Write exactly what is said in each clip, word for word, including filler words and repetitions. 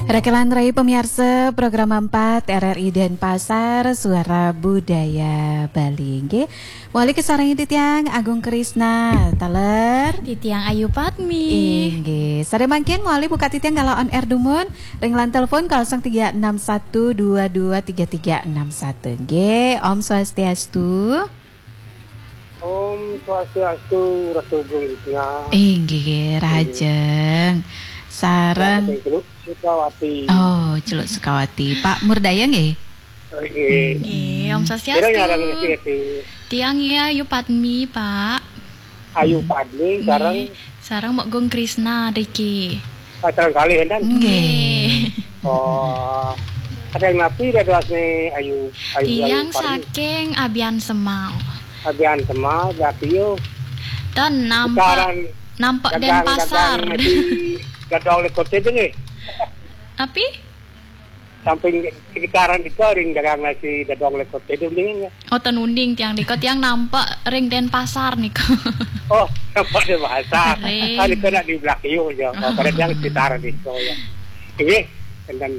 Rakelan rai pamiarsa program empat R R I Denpasar, Suara Budaya Bali. Nggih. Mawali kasarengin titiang Agung Krisna, taler. Titiang Ayu Padmi. Inggih. Sare mangkin mawali buka titiang galah on air dumun ring line telepon kosong tiga enam satu dua dua tiga tiga enam satu. Nggih, Om Swastiastu. Om Swastiastu, Ratu Gung Wisna. Inggih, rahajeng. Sareng Ratu Gung Sukawati. Oh, Celuk Sukawati. Pak Murdaya nggih? Nggih. Nggih, Om Swastiastu. Kira nyarang nggih, Ati? Tiang ya, Ayu Padmi, Pak. Ayu Padmi, sareng? Nggih, sareng Mok Gung Krisna, Riki. Ah, sareng kalih, enten? Nggih. Oh. Saking napi dadosne Ayu, Ayu, Ayu Tiang Padmi? Saking Abian Semal. Abian Semal, berarti yo. Dan nampak, sekarang nampak dagang, Denpasar. Dagang masih dadong lekor tedung, eh. Api? Samping sekitaran itu ring dagang nasi dadong lekor tedung dingin ya. Oh, ten uning tiang nika, tiang nampak ring Denpasar nika. Oh, nampak Denpasar. Ring. Ah, nika nak di belakang yo ya. Oh, pada tiang sekitaran itu ya. Ini, enten,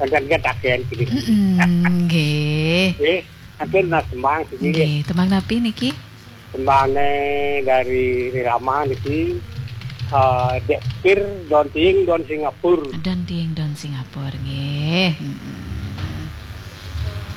enten kan takian sini. Mm-mm, nggih. Nggih, ampun Mas Semang sini. Nggih, tembang napi niki? Tembangnya dari Rama niki, eh, Dek Pir, Don Tiing, Don Singapur. Don Tiing, Don Singapur, nggih. Mm-mm.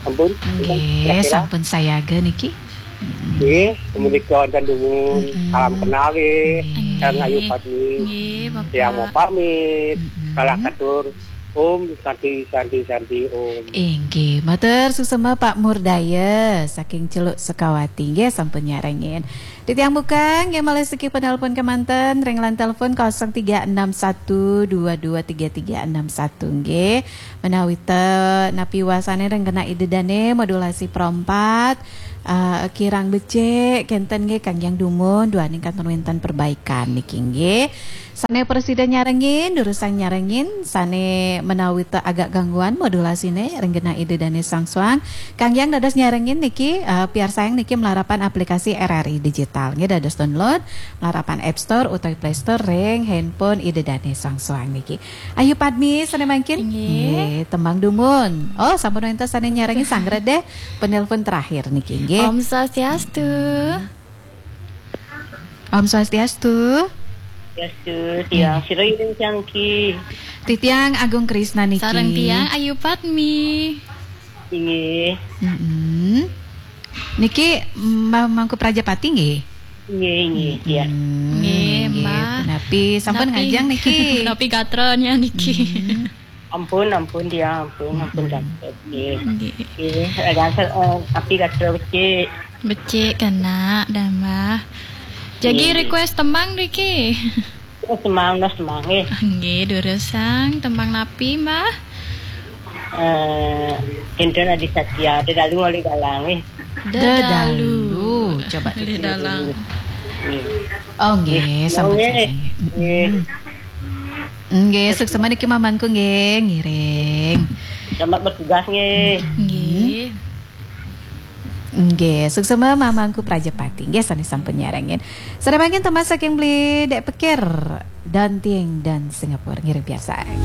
Ampun, nggih, kira-kira? Sampun sayaga niki. Mm-mm. Nggih, menika wonten dumun. Mm-mm. Salam kenal nggih. Nggih. Sareng Ayu Padmi. Nggih, Bapak. Tiang mau pamit. Mm-mm. Kalah katur. Om Santi, Santi, Santi, Om. Inggih, matur suksma Pak Murdaya saking Celuk Sukawati nggih sampun nyarengin. Titiang buka nggih malih siki penelpon kemanten ring line telepon kosong tiga enam satu dua dua tiga tiga enam satu nggih. Menawi te napi wasane ring kena ida dane modulasi perempat, eh, kirang becik kenten nggih kangge dumun duaning kantun wenten perbaikan niki nggih. Sane prasida nyarengin, durusang nyarengin, sane menawi te agak gangguan modulasine ring genah ida dane soang-soang. Kangge dados nyarengin niki, eh, piarsayang niki malarapan aplikasi R R I Digital. Nggih dados download malarapan App Store utawi Play Store ring handphone ida dane soang-soang niki. Ayu Padmi sane mangkin. Nggih. Nggih, tembang dumun. Oh, sampun wenten sane nyarengin sanggra deh penelpon terakhir niki nggih. Om Swastiastu. Om Swastiastu. Swastiastu, tiang. Nggih. Sira iring tiang ki. Titiang Agung Krisna niki. Sareng tiang Ayu Padmi. Inggih. Mm-mm. Niki Mbah Mangku Prajapati nggih? Inggih, inggih, tiang. Mm-mm. Nggih, nggih, Mbah. Punapi sampun ngajeng niki? Punapi gatranya niki? Mm-mm. Ampun, ampun, tiang, ampun, ampun, mm-mm, gatel. Nggih. Nggih. Nggih, gatel, eh, tapi gatel becik. Becik kena, dah, Mbah. Jagi, nggih, request tembang niki. Oh, Semang, no, Semang, eh. Nggih, durusang tembang napi, Mbah? Eh, Hendra Adi Satya, Dedalu oleh Galang, eh. Dedalu. Dedalu. Coba. Oleh Dalang. Nggih. Oh, nggih, nggih, sampun, nggih, sampun. Nggih. Mm-mm. Nggih, suksma niki mamangku nggih, ngiring. Selamat bertugas nggih. Nggih. Nggih, suksma mamangku Prajapati. Nggih, sane sampun nyarengin. Sare mangkin tembang saking Beli Dek Pekir, Don Tiing, Don Singapura. Ngiring piarsayang.